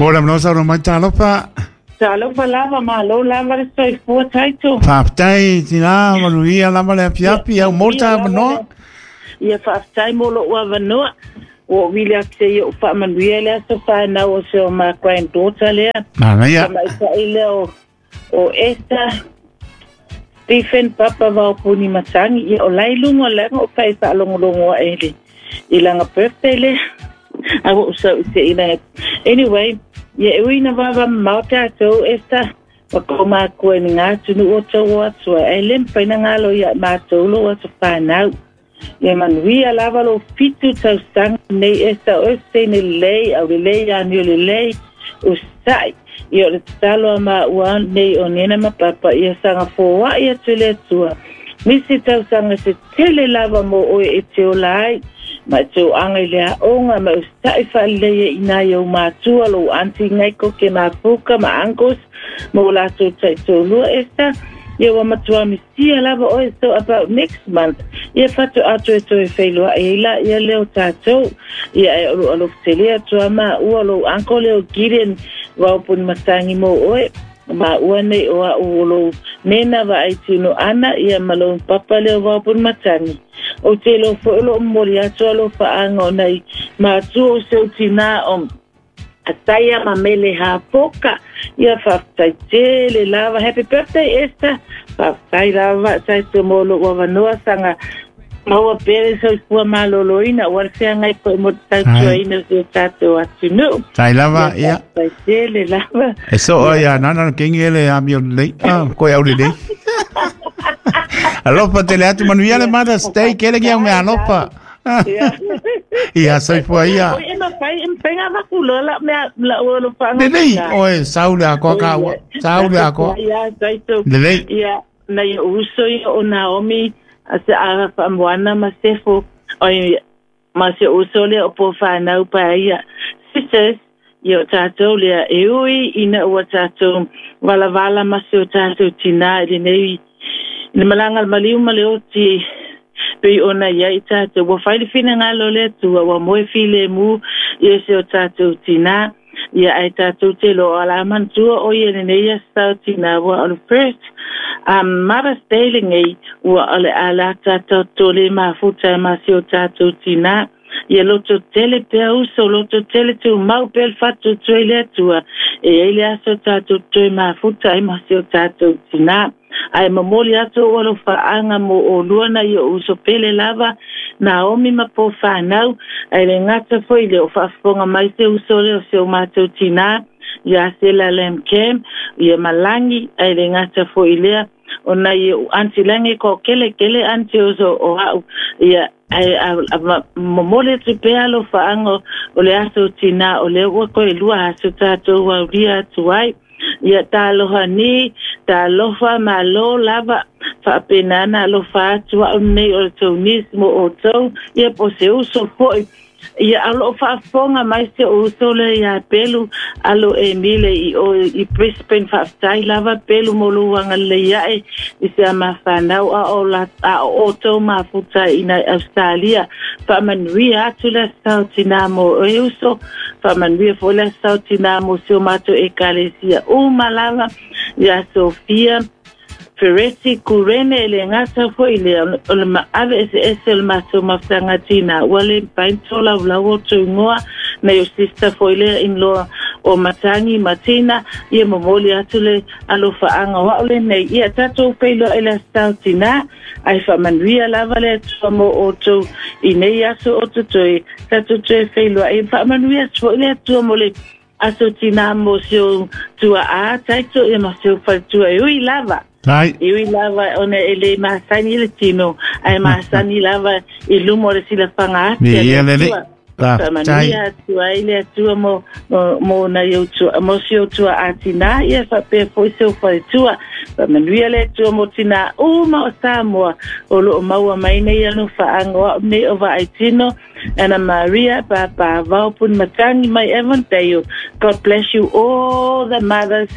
Mo le mano saunoa mai talofa. Talofa lava, malo lava le soifua taito. Faafetai tina, manuia lava le afiafi, au mo le avanoa. Ia faafetai mo lou avanoa. Ua ou vili atu se i ou faamanuia i le aso fanau o si o ma granddaughter lea. Manaia. Tamaitai lea o Esther Stephen Papa Vaopuni Matangi. Ia o la i luga o le aga o fai faalogologo ae i i lana birthday lea. A ua ou sau i se ina. Anyway, ia e ui ina vavamamao tatou Esther, ma kou makua i ni ngā atunuu o tou o atu ai, ae le mafai ona galo ia matou lou aso fanau. Ia manuia lava lou 7 tausaga nei Esther, o oe se teine lelei, aulelei, amio lelei, usa'i. Ia o le tatalo a maua nei o Nena ma Papa, ia saga foa'i atu e le Atua nisi tausaga se tele lava mo oe e te ola ai, ma e te oaga i le aoga, ma e usa'i faalelei ai i nai ou matua, lou aunty Ngaiko ke mafuka ma uncles, ma o latou taitoalua Esther. Ia ua matua misia lava oe, so about next month, ia faatoa toe feiloai ai la ia lea o tatou. Ia e o lou alofa tele atu a maua lou uncle lea o Gideon Vaopuni Matangi mo oe. Maua nei o au o lou nena vaai tino ana, ia ma lou papa lea o Vaopuni Matangi. O te iloa foi o loo momoli atu alofaaga o nai matua o si ou tinā o Ataia ma Mele Hapoka. Ia faafetai tele lava. Happy birthday Esther. Faafetai lava taito mo lou avanoa saga maua pea le soifua malōlōina ua le feagai foi mo le tautuaina o si o tatou atunuu. Tai lava, ia. Faafetai tele lava. E soo ia nana kengi ele amio lelei. Ah, koe au lelei. Alofa tele atu manuia le Mother's Day kele ki au mea alofa. Ia soifua ia. Oi e mafai e mafai ngā vaku loa la mea la ua lo whanga. Lelei, oe sau le akoa ka ua. Sau le akoa. Ia taito. Lelei. Ia nai o uso ia o Naomi a se a whaamoana ma sefo oi ma se uso lea o po whanau pa ia. Sisters, ia o tātou lea e ui ina ua tātou walavala ma se o tātou tina i lenei i le malaga le maliu ma le oti pei ona ia i tātou. Ua fai le finagalo o le Atua, ua moe filemu ia se o tātou tina. Ia ai tātou te loa la manatua o ia lenei aso sao tina ua o le first Mother's Day lenei ua o le ala tātou tole mafuta ma se o tātou tina. Ia loto tele pea uso, loto tele tumau pea le faatuatua i le Atua. E ai le aso tātou toe mafuta ai ma se o tātou tina. Ae momoli atu ou alofaaga mo olua nai o uso pele lava, Naomi ma po whanau, ai le gata foi le o faafofoga mai se uso lea o si o matou tinā, ia Sela Lam Cam, ia Malangi, ai le gata foi lea, o nai o aunty Langi ko kele kele aunty uso o au, ia ae momoli atu pea alofaaga o le aso tinā o lea ua toe lua aso tatou aulia atu ai. Ia talofa ni, talofa malo lava, faapena na alofa atu au nei o le tou niece mo outou, ia po o se uso foi. Ia o loo faafofoga mai si ou uso lea ia Pelu alo Emile i o i Brisbane. Faafetai lava Pelu mo lou agalelei ae i se amafanau a o la a o outou mafuta i nai Australia. Faamanuia atu le aso sao tinā mo oe uso, faamanuia foi le aso sao tinā mo si o matou ekalesia uma lava ia Sofia Fereti Kurene e le gata foi lea o le maave eseese o le matou mafutaga tinā ua le mafai ona tolaulau outou igoa nai o sister foi lea in-law o Matangi ma Tina. Ia momoli atu le alofaaga o au lenei. Ia tatou feiloai le aso sao tinā ae faamanuia lava le Atua mo outou i nei aso o totoe tatou toe feiloai. Faamanuia atu foi le Atua mo le aso tinā mo si ou tuaa taito ia ma si ou faletua e ui lava. Tai. E ui lava ona e le masani le tino, ae masani lava i luma o le silafaga ati a le Ia lelei. Atua. Faafetai. Faamanuia atu ai le Atua mo nai ou tua, mo si ou tuaa tinā, ia faapea foi si ou faletua. Faamanuia le Atua mo tinā uma o Samoa o loo maua mai nei alofaaga o au nei o Vaai Tino, Anna Maria Papa Vaopuni Matangi mai Avondale. God bless you all the mothers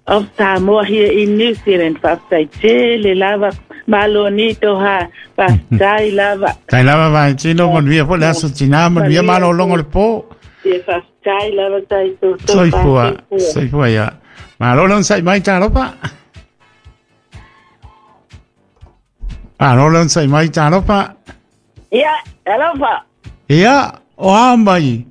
of Samoa here in New Zealand. Faafetai tele lava. Malo ni toha. Faafetai lava. Tai lava Vaai Tino, manuia foi le aso tinā, manuia malōloga o le pō. Ia faafetai. Tai lava tai Soifua, soifua ia. Malo le onosai mai talofa. Malo le onosai mai talofa. Ia, alofa. Ia, o a mai.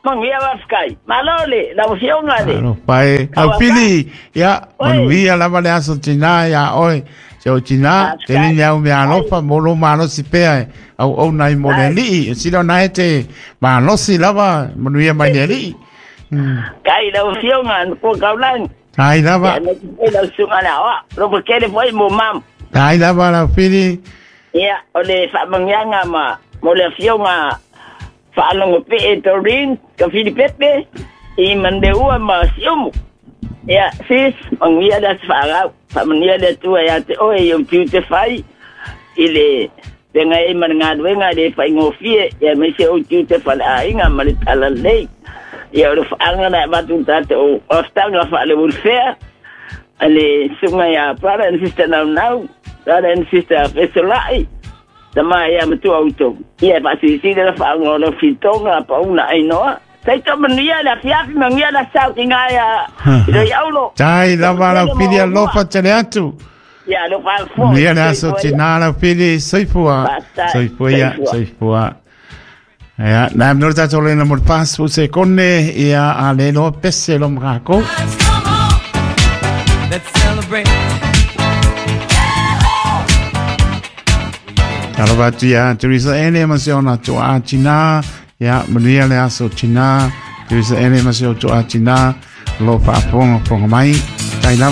Manuia faafetai. Malo le lau afioga le. Alofa e. Au pili, ia, manuia lava le aso tina ia oe. Se o tina, te ni au mea alofa, mo lo malosi pea e. Au au nai mo le alii. E sila ona e te malosi lava, manuia mai le alii. Kai lau afioga na kua kaulagi. Tai lava. Ia na te lau susuga le aoao. Lopo tele foi mo mama. Tai lava lau pili. Ia, o le faamanuiaga ma mo le afioga Faalogo Pee Doreen Kafilipepe i Mandeua ma Siumu. Ia, sis, manuia le aso faalau. Faamanuia le Atua ia te oe i ou tiute fai i le feagai ai ma le galuega e le faigofie, ia aemaise ou tiute faleaiga ma le talalelei. Ia, o le faaga na e avatu i le tatou aftaga faale-welfare a le susuga ia Brother and Sister Naunau, Brother and Sister Fesolai, Tama ia matua outou. Ia e faasilisili le faaga o lau filitoga pauna ainoa. Taito manuia le afiafi manuia le asau ki ngai a i aulo. Tai lava lau pili alofa tele atu. Ia alofa fo. Manuia le aso tina lau pili soifua. Soifua ia soifua. Ia, nā mnore tātou lena mo le pasu se kone ia a le loa pese lo makako. Let's celebrate. Talofa atu ia Teresa Ene ma se ona toa tina. Ia, manuia le aso tina. Teresa Ene ma se o toa tina. Lo faafogafoga mai. Tai lava.